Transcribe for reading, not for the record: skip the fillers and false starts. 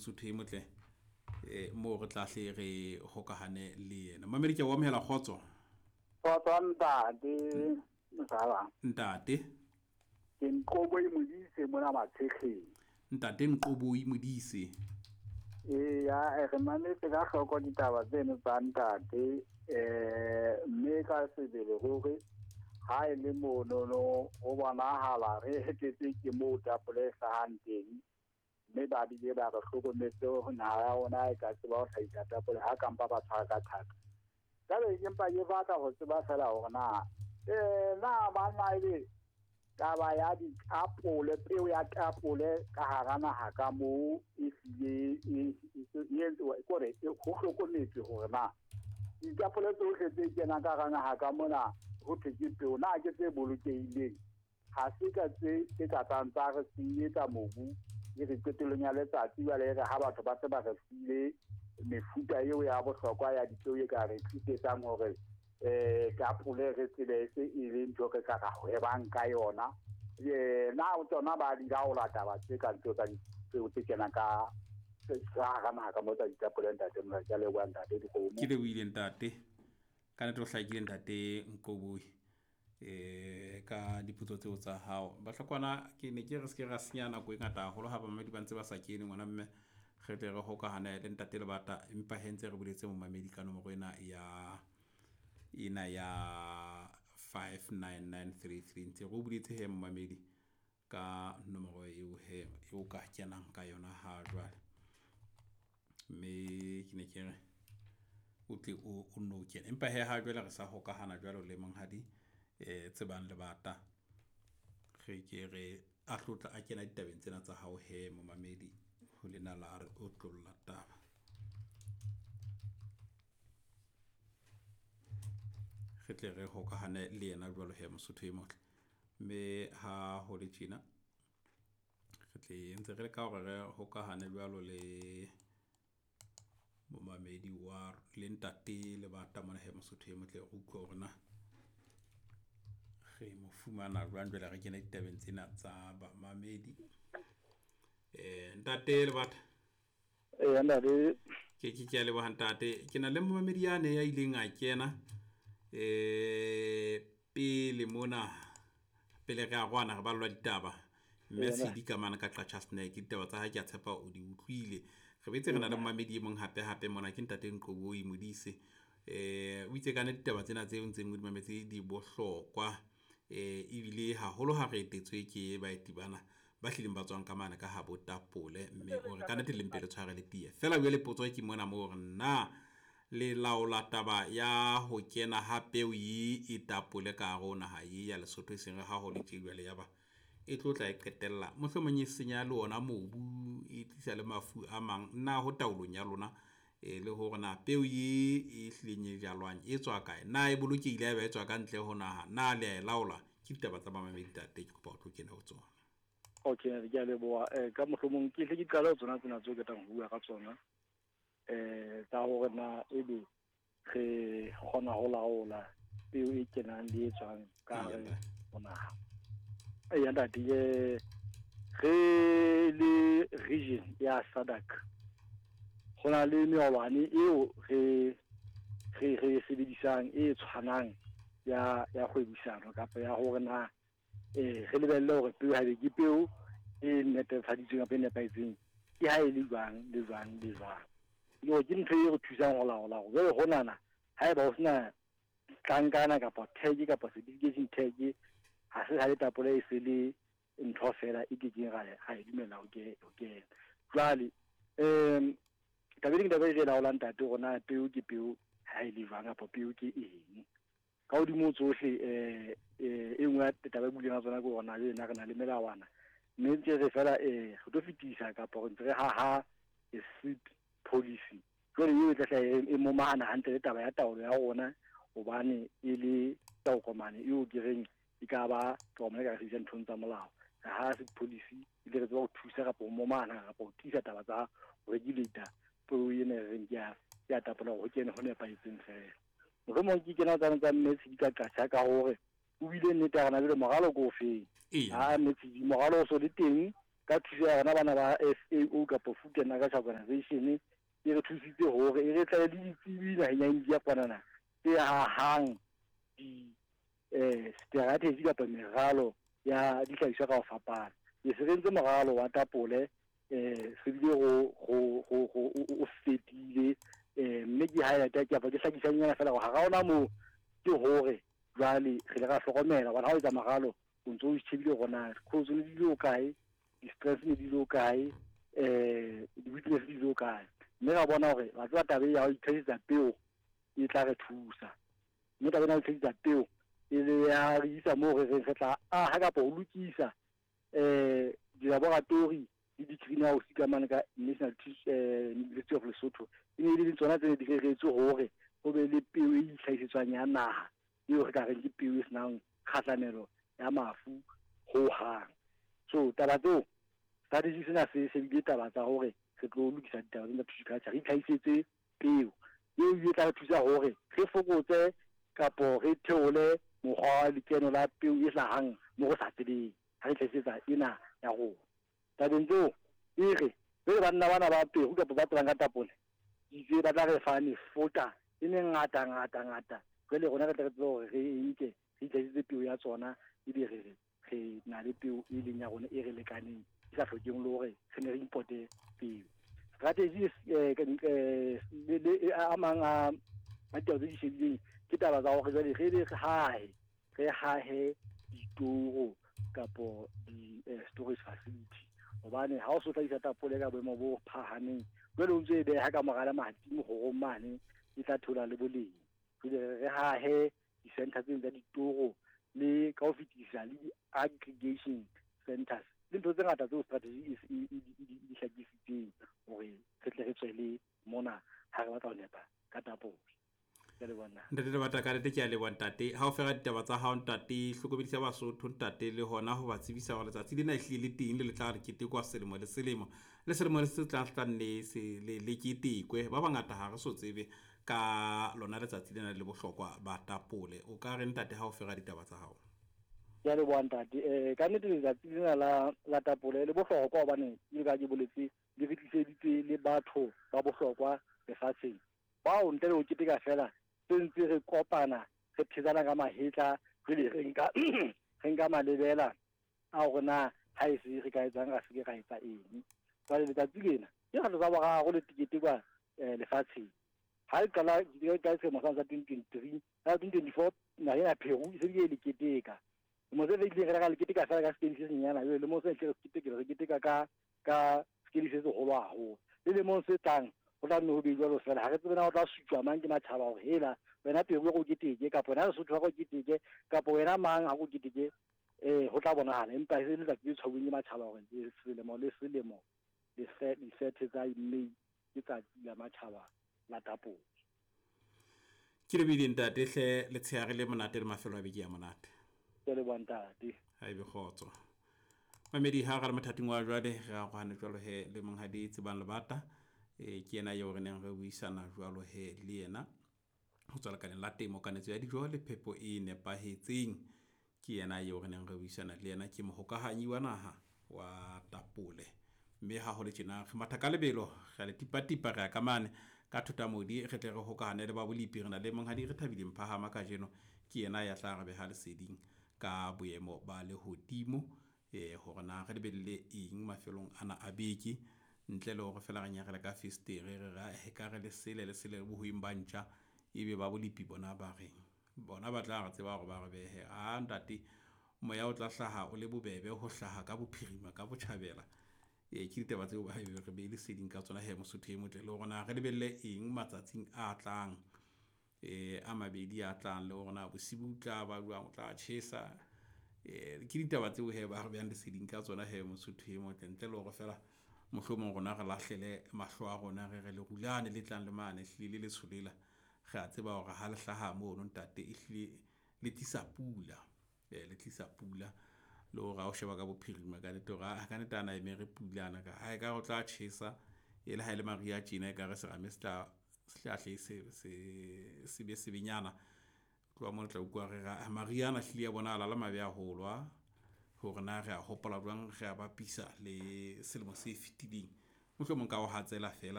Mosotho e motle moo re tla hle re hokahane le yena. Mamedi ke a o amohela kgotso. Kgotso ntate Mosala. Ntate. Ke Nqoboi Modise mona Matshetleng. Ntate Nqoboi Modise. Eya, re mametse ka hloko ditaba tseno tsa ntate mme ka sebele ruri ha e le monono ho bonahala re hetetse ke moo tapole e hlahang teng mme ba bile ba re hlokometse hore naha ya rona e ka tseba ho hlahisa tapole ha kampa ba tshwara ka thata. Jwale ke mpa ke batla ho tseba feela hore na na banna ebe taba ya ditapole, peo ya tapole ka hara naha ka moo e hlile e kore ho hlokometswe hore na ditapole tsohle tse kenang ka hara naha ka mona ho thwe ke peo na ke tse bolokehileng. Ha se ka tse tse ka tlang tsa re senyetsa mobu e re qetellong ya letsatsi jwale e re ha batho ba se ba re file mefuta eo ya bohlokwa ya dipeo e ka re tlisetsang hore tapole re tsebe e se e le ntho re ka ra hwebang ka yona. Na tsona ba di laola taba tse kang tseo tsa dipeo tse kenang ka hara naha ka moo tsa ditapole ntate mona. Ke a leboha ntate dikgomo. Ke lebohile ntate. Ka nnete o hlakile ntate Nqoboi ka dipotso tseo tsa hao. Bahlokwana ke ne ke re se ke ra senya nako e ngata haholo ha bamamedi ba ntse ba sa kene ngwana mme re tle re hokahane le ntate Lebata empa he ntse re boletse momamedi ka nomoro ena ya ena ya 59933 ntse re o buletse he momamedi ka nomoro eo he eo ka kenang ka yona ha jwale. Mme ke ne ke re o tle o nno kene empa he ha jwale re sa hokahana jwalo le monghadi Tsebang Lebata re ke re a tlotla a kena ditabeng tsena tsa hao he momamedi ho lena la re otlolla taba. Re tle re hokahane le yena jwalo he Mosotho e motle. Mme ha ho le tjena re tle ntse re leka hore re hokahane jwalo le momamedi wa le ntate Lebata mona he Mosotho e motle re utlwe hore na re mo fumana jwang jwale re kene ditabeng tsena tsa bamamedi. Ntate Lebata. Eya ntate. Ke ke ke a leboha ntate. Ke na le momamedi yane ya ileng a kena pele mona pele re arohana re ballwa ditaba. Mme Tshidi ka mane ka Qacha's Nek ditaba tsa hae ke a tshepa o di utlwile. Re boetse re na le momamedi e mong hape hape mona ke ntate Nqoboi Modise. O itse ka nnete ditaba tsena tseo ntseng o di mametse di bohlokwa ebile haholo ha re etetswe ke baeti bana ba hlileng ba tswang ka mane ka habo tapole mme o re ka nnete le mpe le tshware le tiye. Feela jwale potso ke mona moo hore na le laola taba ya ho kena ha peo ye e tapole ka hare ho naha ye ya Lesotho e seng re ha ho le tje jwale ya ba e tlo tla e qetella mohlomong e senya le ona mobu e tlisa le mafu a mang na ho taolong ya lona le hore na peo ye e hlileng e jalwang e tswa kae na e bolokehile haeba e tswa ka ntle ho naha na le a e laola ke ditaba tsa bamamedi ntate ke kopa o tlo kene ho tsona. Okay, ke a leboha. Ka mohlomong ke hle ke qale ho tsona tsena tseo ke tlang ho bua ka tsona. Tsa hore na ebe re kgona ho laola peo e kenang le e tswang ka hare ho naha. Eya ntate, re le region ya SADC ho na le melawana eo re re sebedisang e tshwanang ya ya kgwebisano kapa ya hore na re lebelle hore peo haebe ke peo e netefaditsweng kapa e nepahetseng ke ha e le jwang le jwang le jwang. Le hore ke ntho e re thusang ho laola hore jwale honana haeba ho sena tlankana kapa tag kapa certification tag ha se ha le tapole e se le ntho fela e kekeng ra e dumella ho kena. Jwale taba e taba e re laolang ntate hore na peo ke peo ha e le jwang kapa peo ke eng. Ka hodimo tsohle e nngwe ya taba e buileng ka tsona ke hore na le re na le melawana mme ntse re fela re tlo fetisa kapa re ntse re haha a seed policy. Jwale eo e tla hlaha e momahana hantle le taba ya taolo ya rona hobane e le tokomane eo ke reng e ka ba tokomane e ka re sebedisang nthong tsa molao. Re ha seed policy e tle re tseba ho thusa kapa ho momahana kapa ho tiisa taba tsa ho regulate peo ena e reng ke ya tapola hore ho kene ho nepahetseng fela. Mohlomong ke kena tsane tsa mme Tshidi ka Qacha ka hore o bile nnete ya rona jwale moralo ke o feng. Ha mme Tshidi moralo o so le teng Ka thuso ya rona bana ba FAO kapa Food and Agriculture Organization, e re thusitse hore e re tlale le ditsebi naheng ya India kwanana tse hahang di strategy kapa meralo ya dihlahiswa ka ho fapana. E se re entse moralo wa tapole, se bile go o fetile, mme ke highlight kapa ke hlakisanyana fela hore hara ona moo ke hore jwale re ile ra hlokomela hobane ha o etsa moralo o ntso o shebile hore na cause ne di le kae, di-stress ne di le kae, di-weakness di le kae, mme ra bona hore wa tseba taba e ya ho itlhahisetsa peo e tla re thusa, mme taba ena ya ho itlhahisetsa peo e le ya re isa moo re reng re tla aha kapa ho lokisa dilaboratori le di-greenhouse ka mane ka National University of Lesotho. E ne e le tsona tse ne di reretswe hore ho be le peo e itlhahisetswang ya naha eo re ka reng ke peo e senang kgahlamelo ya mafu hohang. So taba tseo strategy sena se shebile taba tsa hore re tlo lokisa ditaba tsena tsa tissue culture, re itlhahisetse peo eo e tla re thusa hore re fokotse kapo re theole mokgwa wa lekeno la peo e hlahang mo re sa tsebeng ha re itlhahisetsa ena ya rona. Tabeng tseo e re jwale banna bana ba Peru kapa ba tsebang ka tapole itse ba tla re fa mefuta e mengata ngata ngata, jwale rona re tle re tsebe hore re e nke re itlhahisetse peo ya tsona, ebe re re na le peo e leng ya rona e re lekaneng e sa hlokeng le hore re ne re importe peo. Strategy le a mang a ditaba tse di shebileng ke taba tsa hore jwale re be re hahe ditoro kapo di storage facility, hobane ha o so hlahisa tapole ka boemo bo phahameng jwale o ntso e beha ka mora lemati mohorong mane e tla theola le boleng. Jwale re hahe di-center tseno tsa ditoro le ka ho fetisisa le di-aggregation centers le ntho tse ngata tseo strategy e di hlakisitseng hore re tle re tswele mona ha re batla ho nepa ka tapole. Ntate Lebata, ka nnete ke a leboha ntate. Ha o fera ditaba tsa hao ntate, hlokomedisa Basotho ntate le hona ho ba tsebisa hore letsatsi lena ehlile le teng le le tla re ketekwa selemo le selemo. Le selemo le se tlang tla nne se le ketekwe. Ba bangata ha re so tsebe ka lona letsatsi lena le bohlokwa ba tapole. O ka re ntate ha o fera ditaba tsa hao? Ke a leboha ntate. Ka nnete letsatsi lena la tapole le bohlokwa hobane ke ka ke boletse le re tliseditse le batho ba bohlokwa lefatsheng. Bao ntle le ho keteka fela se ntse re kopana re phetsana ka mahetla jwale re nka malebela a hore na ha e se re ka etsang ra se ke ra etsa eng. Jwale letsatsi lena ke kgetlo tsa boraro le ketekwa lefatsheng. Ha e qala ka selemo sa 2023, ka 2024 naha ena Peru e se bile e le keteka. Lemo se fetileng re ka le keteka fela ka sekedi se senyana, jwale lemong se tle re keteka ka sekedi se seholo haholo. Le lemong se tlang ho tla nne ho be jwalo fela, ha re tsebe na ho tla sutjwa mang ke matjhaba hore hela wena Peru o keteke kapa wena Lesotho ha o keteke kapa wena mang ha o keteke, ho tla bonahala. Empa e se letsatsi le tshwauweng ke matjhaba hore selemo le selemo di-30 tsa May ke tsatsi la matjhaba la tapole. Ke lebile ntate hle, letshehare le monate le mafelo a beke ya monate. Ke leboha ntate. Ha ebe kgotso. Mamedi ha re le mothating wa jwale re arohane jwalo he le monghadi Tsebang Lebata, ke yena eo re neng re buisana jwalo he le yena ho tswa lekaleng la temo, kanetso ya dijo le phepo e nepahetseng. Ke yena eo re neng re buisana le yena, ke mohokahanyi wa naha wa tapole. Mme ha ho le tjena re matha ka lebelo, re le tipatipa re ya ka mane ka Thotamodi, re tle re hokahane le ba bolipi. Re na le monghadi re thabile Mphahama kajeno, ke yena ya tla re beha leseding ka boemo ba lehodimo, hore na re lebelle eng mafelong ana a beke, ntle le hore fela re nyarele ka festere re ra he ka re lesele lesele bohweng ba ntja, ebe ba bolipi bona ba reng bona ba tla re tseba hore ba re behe. A ntate, moya o tla hlaha o le bobebe ho hlaha ka bophirima ka botjhabela. Ke ditaba tseo ba re be leseding ka tsona he Mosotho e motle, le hore na re lebelle eng matsatsing a tlang, a mabedi a tlang, le hore na bosibu tla ba jwang, o tla tjhesa. Ke ditaba tseo he ba re behang leseding ka tsona he Mosotho e motle, ntle le hore fela mohlomong rona re lahlele mahlo a rona re re lerulane le tlang le mane ehlile le letsho lela, re a tseba hore ha le hlaha mono ntate ehlile le tlisa pula, le tlisa pula. Le hore ha o sheba ka bophirima ka nnete hore ka nnete ana eme re pula ana ka ha e ka o tla tjhesa, e le ha e le mariha tjena e ka re serame se tla hle se be sebenyana. Tloha moo le tla utlwa re ra mariha ana hlile a bonahala le mabe haholo a. Hore na re a hopola jwang, re a bapisa le selemo se fetileng. Mohlomong ka ho hatsela feela.